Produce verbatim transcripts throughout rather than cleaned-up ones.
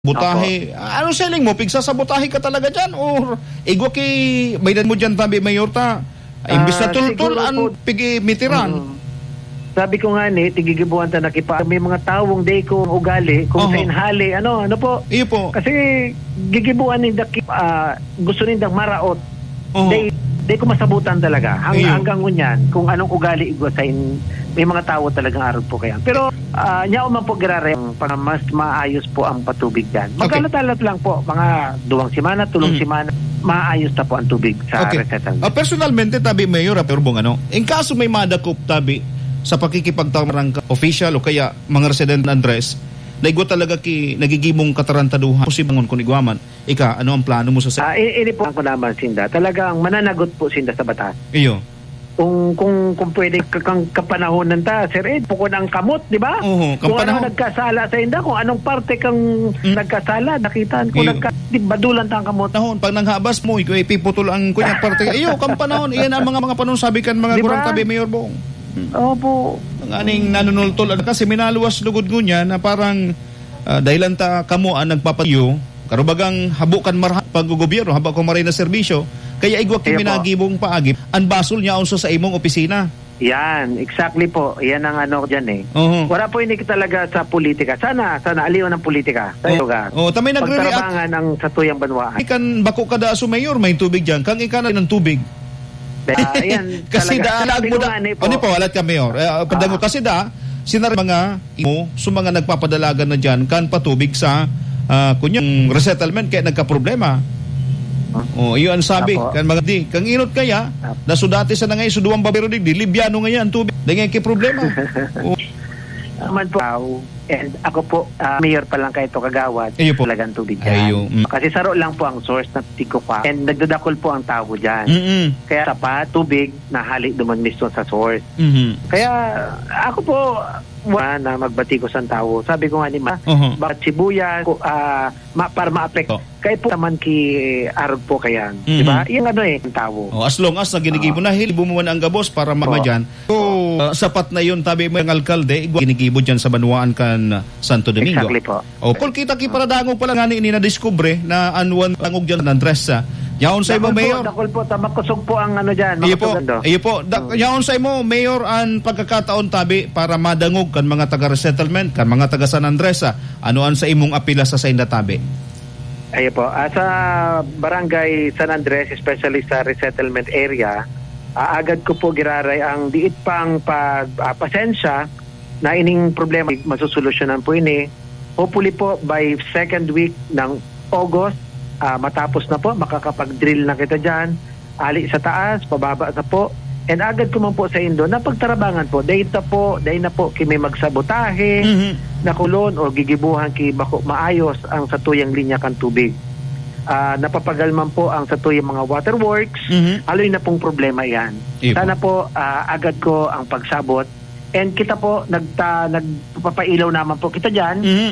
Butahe. Opo. Ano siling mo? Pigsasabotahe ka talaga dyan? Or igwa ki, baydan mo dyan, tabi, Mayor, ta? Imbis na Ah, tultol siguro ang po, pigimitiran. Mm. Sabi ko nga ni, tigigibuan ta na kipa-, may mga tawong day kong ugali, kung Oho. sa inhali, ano, ano po? Iyo po. Kasi gigibuan ninda ki-, ah, gusto nindang maraot. Oho. Day, day ko masabutan talaga. Hang-, Iyo. hanggang ngunyan, kung anong ugali igwa sa in-, may mga tawo talagang arog po kaya. Pero, ah, nyaon man po giraray ang pag-, mas maayos po ang patubig dyan. Okay. Magkalat-alat lang po, mga duwang semana, tulong Mm. semana, maayos na po ang tubig sa Okay. resettlement. Ah, personalmente, tabi, Mayor, ah, Mayor Bong, ano, in kaso may madakop, tabi, sa pakikipagtamarang ka, official o kaya mga resident ng Andres, na igwa talaga ki, nagigimong katarantaduhan, posibangon kung igwa man, ika, ano ang plano mo sa se- Ah, i-, ini po ang kunaman sinda. Talagang mananagot po sinda sa batas. Iyo. Kung, kung, kung pwede ka-, kang kapanahonan ta, Sir Ed, bukod ang kamot, di ba? Oho, Kung ano kampanaw. nagkasala sa inda, kung anong parte kang Mm. nagkasala, nakitaan ko, Iyo. nagka-, di, badulan ta ang kamot. Nahon, pag nanghabas mo, ikaw ipiputol ang kunyang parte. Iyo, kang panahon, iyan ang mga, mga panahon, sabi kan mga Di ba? gurang tabi, Mayor Bong. Mm. Opo. Ang aning nanunultol, kasi minaluwas lugod ngunyan na parang, ah, dahilan ta kamo ang nagpapatiyo, karubagang habo kan marahay pag-gobyerno, habo kan maray na serbisyo, kaya igwa ki Iyo po. minagibong paagi, ang basol niya unsa sa imong opisina. Yan, exactly po. Yan ang ano dyan eh. Oho. Wala po ini talaga sa politika. Sana, sana aliwan ng politika sa Oh, lugar. oh, tamay nagre-react. Pagtarabangan ang satuyang banwaan. Kan bako kada aso mayor, may tubig dyan. Kang ika na ng tubig. Ah, yan, Kasi talaga. daan Sabi ko mo da-, nga ni po. ano po, alat ka, Mayor? Eh, ah, padang Ah. kasi da, sinar mga imo, so mga nagpapadalagan na dyan, kan patubig sa, ah, kunyang resettlement, kaya nagkaproblema. Ah. Oh, iyo ang sabi, Apo. kan mga di, kang inot kaya, Apo. na so dati sa nangay, so duwang babero digdi, libyano ngayon ang tubig. Dahil ngayon kay problema. Oh. Naman po. And ako po, ah, mayor pa lang kayo to kagawad, Iyo po. talagang tubig dyan. Ayo, mm. Kasi saro lang po ang source na tigkukuha. And nagdadakol po ang tao dyan. Mm-mm. Kaya sapat, tubig, nahali duman mismo sa source. Mhm. Kaya ako po, wala na magbati ko sa tao. Sabi ko nga ni Ma, Oho. bakit sibuyas, ku-, ah, ma-, para maapekto. Oh. Kaya po naman ki arog po kayan. Mhm. Di ba? Yung ano eh, ang tao. Oh, as long as naginigibo Oo. na, hilibo mo man ang gabos para Oo. mamadyan. So, ah, sapat na yun, tabi mo yung alkalde, igwa ginigibo dyan sa banwaan kan Santo Domingo. Exactly po. O, kung kita ki paradangog pala nga ni, ni nadiskubre na an wan dangog dyan, Andres, ah. Yaon sa imo, Dakul po, Mayor. dakul po, ta-, makusog po ang ano dyan, Iyo po, makusog ando. iyo po. Da-, Mm. yaon sa imo, Mayor, an pagkakataon tabi para madangog kan mga taga-resettlement, kan mga taga San Andres, ah. Ano an sa imong apila sa sainda tabi? Ayo po. Ah, sa Barangay San Andres, especially sa resettlement area, ah, agad ko po giraray ang diit pang pag-, ah, pasensya na ining problema, masusolusyonan po ini. Hopefully po, by second week ng August, ah, matapos na po, makakapag-drill na kita dyan. Ali sa taas, pababa sa po. And agad ko man po sa indo, napagtarabangan po. Dahil ta po, dahil na po, kimi magsabotahe, Mhm. nakulon o gigibuhan ki bako maayos ang satuyang linya kan tubig. Ah, napapagal man po ang satuyang mga waterworks. Mhm. Aloy na pong problema yan. Iyo po. Sana po, ah, agad ko ang pagsabot. And kita po, nagta-, nagpapailaw naman po kita dyan. Mhm.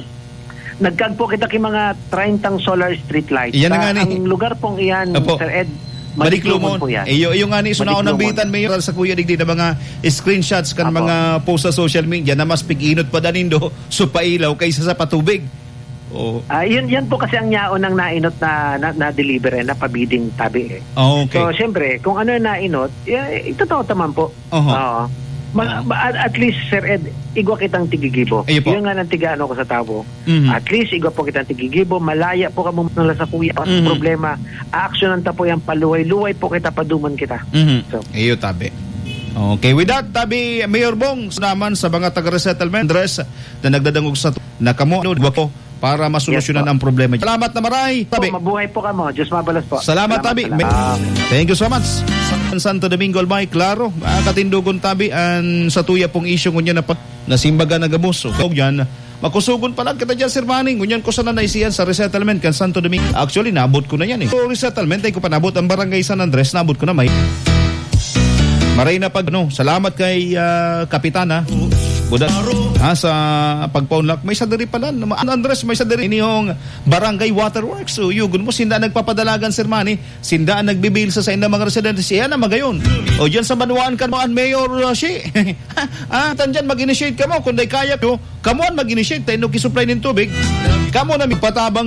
Nagkag po kita ki mga treinta solar street lights. Iyan na Sa nga ni. ang lugar pong iyan, Opo. Sir Ed, Madiklumon. Madiklumon po yan. Iyo, iyo nga ni, so Madiklumon. naunang bitan, Mayor, sa kuya digdi na mga screenshots kan Apo. mga post sa social media na mas pig-inot pa danindo, so pailaw kaysa sa patubig. Oo. Ah, yun, yan po kasi ang yaon ng nainot na, na, na-deliver eh, na pabiding tabi eh. Ah, okay. So, siyempre, kung ano yung nainot, eh, totoo naman po. Oho. Oo. Ma-, ma-, at, at least, Sir Ed, igwa kitang tigigibo. Ayun po. Yun nga nang tiga ano ko sa tao. Mhm. At least, igwa po kitang tigigibo, malaya po kamo na sa kuya. Ang Mhm. problema, aaksyonan ta po yan, paluway-luway po kita, paduman kita. Mhm. So. Iyo, tabi. Okay, with that, tabi, Mayor Bong, naman sa mga taga-resettlement, Andres, na nagdadangog sa tu-, na kamo, ano, igwa ko, para masolusyonan Yes po. ang problema. Salamat na maray, Po, tabi. mabuhay po kamo. Diyos mabalos po. Salamat, Salamat, tabi. salamat. Thank you so much. Sa Santo Domingo, Albay, klaro, ah, katindogon tabi, an sa tuya pong isyu ngunyan na pa-, nasimbagan na gabos. So, yan, makusugon pa lang kita dyan, Sir Manny. Ngunyan ko sana naisiyan sa resettlement kan Santo Domingo. Actually, naabot ko na yan eh. So, resettlement, ay ko panabot ang barangay San Andres, naabot ko na may. Maray na pag, ano, salamat kay, ah, Kapitana. Buda, ha, sa pagpaunlak. May sadiri pala, no, Andres, may sadiri. Inihong Barangay Waterworks. So, yugon mo, sinda nagpapadalagan, Sir Manny. Sinda ang nagbibil sa saindang mga residente. Siya na magayon. O, dyan sa Banwaan, Kanwaan, Mayor, uh, Shi. Ah, tan dyan, mag-initiate kamo. Kung di kaya ko, kamo ang mag-initiate. Tayo, no, kisupply ng tubig. Kamo na mipatabang